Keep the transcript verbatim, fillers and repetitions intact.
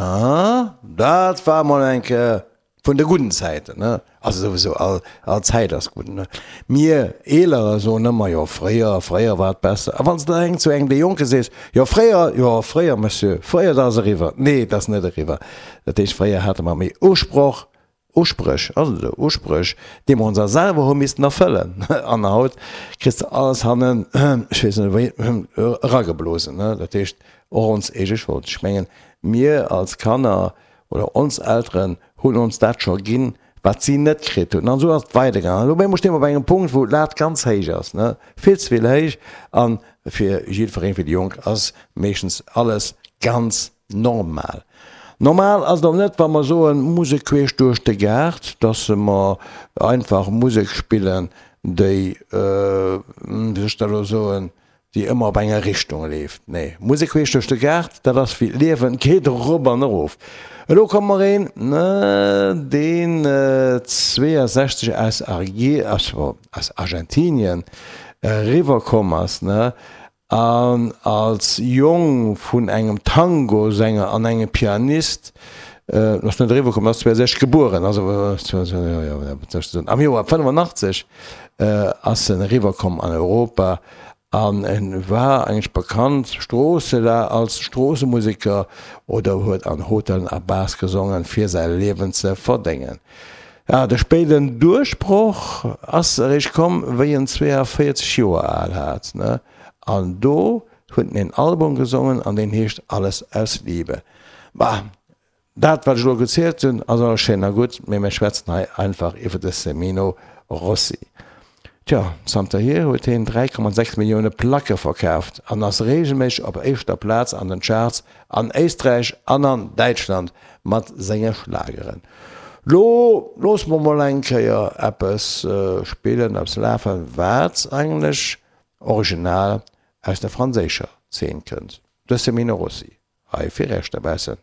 Ah, dat war mol eng Kéier vun de gudden Zäiten, ne? Also souwisou, all, all Zäit ass gutt, ne? Mir Eelerer soen ëmmer, jo fréier, fréier war et besser. A wann s de eng zu engem dee Jonke sees, jo fréier, jo fréier, Monsieur, fréier, dat ass eriwwer. Nee, dat ass net eriwwer. Dat heescht, fréier hate mer méi Usproch, Uspréch, ass et esou? Uspréch, déi mer ons a selwer hu missten erfëllen. An haut kriss de alles hannen, ech weess net wéi, erageblosen, ne? Dat heescht, och ons eege Schold. Ech mengen, mir als Kanner oder ons Elteren hunn ons dat scho ginn, wat si net kritt hunn. An esou ass et weidergaangen. An elo op eemol sti mer op engem Punkt, wou d'Lat ganz héich ass, ne? Vill ze vill héich. A fir jiddwereen, fir déi Jonk ass meeschtens alles ganz normal. Normal ass et och net, wa mer soen, Musek queesch duerch de Gaart, dass mer einfach Musek spillen, déi, wéi soll ech dat elo soen, déi ëmmer op enger Richtung leeft. Nee, Musek queesch duerch de Gaart, dat ass wéi d'Liewen, geet erop an erof. Elo komme mer een, deen zweeënsechzeg aus aus Argentinien eriwwerkomm ass, an als Jong vun engem Tangosänger an engem Pianist, ass net eriwwer komm, ass zweeënsechzeg gebueren, also am Joer fënnefenachtzeg ass en eriwwer komm an Europa an en war eigentlech bekannt Stroosse als Stroossemuseker oder huet an Hotellen a Bars gesongen fir säi Liewen ze verdéngen. Ja, de spéiden Duerchbroch ass eréischt komm, wéi en zweeënvéierzeg Joer al hat, ne? An do huet en een Album gesongen an deen heescht Alles aus Liebe. Bah, dat wat ech elo gezielt hunn, ass alles schéin a gutt, mee mir schwätzen hei einfach iwwer de Semino Rossi. Tjo, zanterhier huet hien dräi Komma sechs Millioune Placke verkaaft an ass reegelméisseg op éischter Plaz an den Charts an Éisträich an an Däitschland mat senge Schlageren. Lo loosse mer mol eng Kéier eppes spillen, eppes lafen, wat eigentlech original aus der franséischer Zeen kënnt. De Semino Rossi, hei fir Iech dobaussen.